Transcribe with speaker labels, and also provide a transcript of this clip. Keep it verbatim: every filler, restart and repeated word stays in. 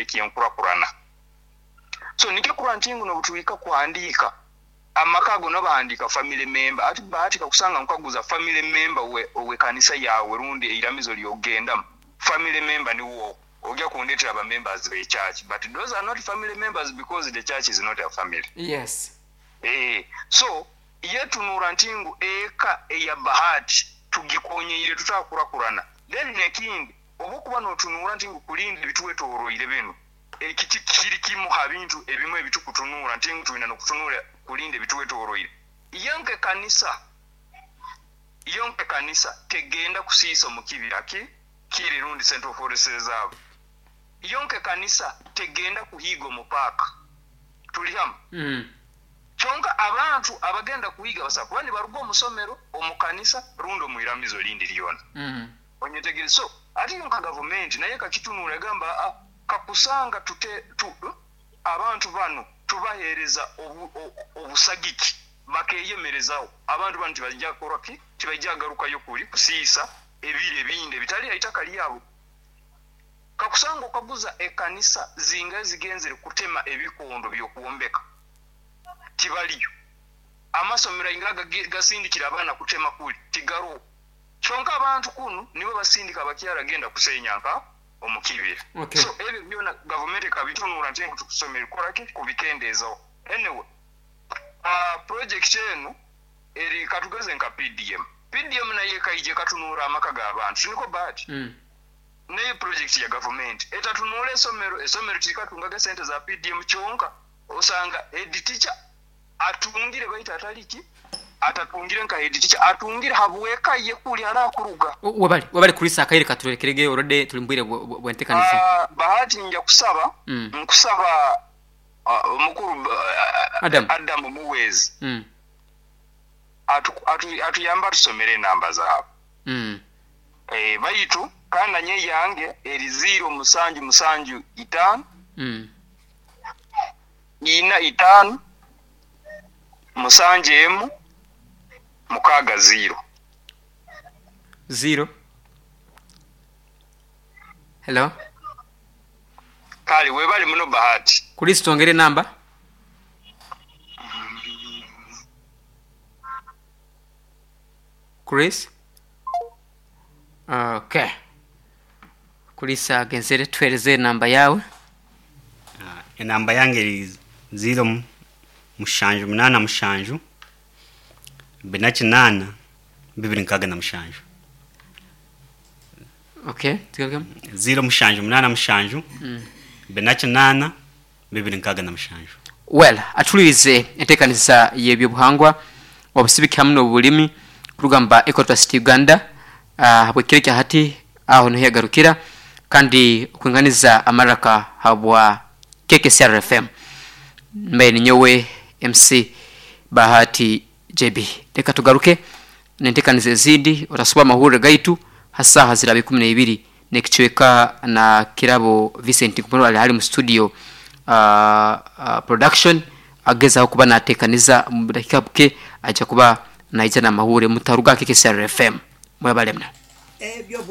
Speaker 1: Eky'enkurakurana. So nikyo kurora nti ngu n'obutuhika kuhandiika amaka ago, nobahandiika family member. Ati Bahati, kakusanga nkaguza family member we ow'ekanisa yawe rundi eiramizo lyogendamu, family member niwo ojja kundetera aba members be church, but those are not family members because the church is not a family.
Speaker 2: Yes.
Speaker 1: Eh, so yetunura nti ngu eka eya Bahati tugikonyeire tutakurakurana. Then nekindi, oba okuba notunura nti ngu kulinda ebitwetoroire bino, eki kiri kimu ha bintu ebimu ebitukutunura nti ngu tulina nokutunura kulinda ebitwetoroire. Iyo nkekanisa iyo nkekanisa tegenda kusiisa omu kibira ki kiri rundi Central Forest Reserve. Iyo nkekanisa tegenda kuhiiga omu paaka. Tuli hamu?
Speaker 2: Mm.
Speaker 1: Kyonka abantu abagenda kuhiiga basobola kuba nibaruga omu somero, omu kanisa rundi omu iramizo erindi lyona.
Speaker 2: Mm.
Speaker 1: Onyetegereze? So ate yo nka gavumenti naye kakitunura, egamba, "Ah, kakusanga tute tu, abantu bano tubaheereza obu, obusagiki bakeyemerezaho. Abantu bano tibajja kukora ki, tibajja garukayo kuli kusiisa ebiri ebindi ebitali ha itaka lyabo." Kakusanga okaguza ekanisa zinga zigenzere kutema ebikondo by'okwombeka, tibaliyo. Amasomero ainga gasindikira abaana kutema kuli, tigaroho. Kyonka abantu kunu nibo basindika abakyara genda kusenya nka omu kibira.
Speaker 2: Okay.
Speaker 1: So ebyo byona gavumenti ekabitunura nti ngu tukusomere kukoraki kubikendeezaho. Anyway, uh, project enu eri katugeze nka P D M. P D M naye ekaija ekatunura amaka g'abantu, siniko Bahati?
Speaker 2: Mm.
Speaker 1: Naye project ya gavumenti etatunura esomero. Esomero tirikatungaga sente za P D M, kyonka osanga head teacher atungire, baitu atali ki, atatungire nka head teacher, atungire habweka ye kuli arakuruga.
Speaker 2: Wabali wabali kulisa akaire katurekerege, already tuli mbwire bwentekanisa.
Speaker 1: uh, bahati nja kusaba,
Speaker 2: Mm.
Speaker 1: nkusaba uh, omukuru uh,
Speaker 2: Adam.
Speaker 1: Adam Muwezi
Speaker 2: Mm.
Speaker 1: atu- atu- atuyamba tusomere enamba zaabwe.
Speaker 2: Mm.
Speaker 1: Eh, baitu kandi nanye yange eri ziro musanju musanju itaano
Speaker 2: Mm.
Speaker 1: ina itaano musanju emu mukaaga ziro.
Speaker 2: Zero. Hello.
Speaker 1: Kale webali muno, Bahati.
Speaker 2: Kulisa, tongere namba. Chris. Okay. Kulisa agenzere, tuhereze namba yawe.
Speaker 3: Ah, enamba yange eri ziro mu- mushanju munana mushanju bina kinana bibiri nkaaga na mushanju.
Speaker 2: Okay, tugarukemu.
Speaker 3: Ziro mushanju munana mushanju
Speaker 2: Mm.
Speaker 3: bina kinana bibiri nkaaga na mushanju.
Speaker 2: Well, atulirize enteekaniza y'ebyobuhangwa, obusibiki hamu n'obulimi kurugamba Ecotrust Uganda uh, bwekiro kya hati aho niho yagarukira kandi okwinganiza amaraka habwa K K C R F M. Mbaye ninyowe M C Bahati J B. Reka tugaruke nenteekaniza ezindi. Otasuba amahurire gaitu hasaha ziraba ikumi n'ibiri nekicweka na Kirabo Vincent Kumuro ali hali mu studio, uh, uh, production agezaho kuba natekaniza. Mu dakika buke aja kuba naija n'amahure. Mutaruga K K C R F M. Mwebalemna.
Speaker 4: Ebyo.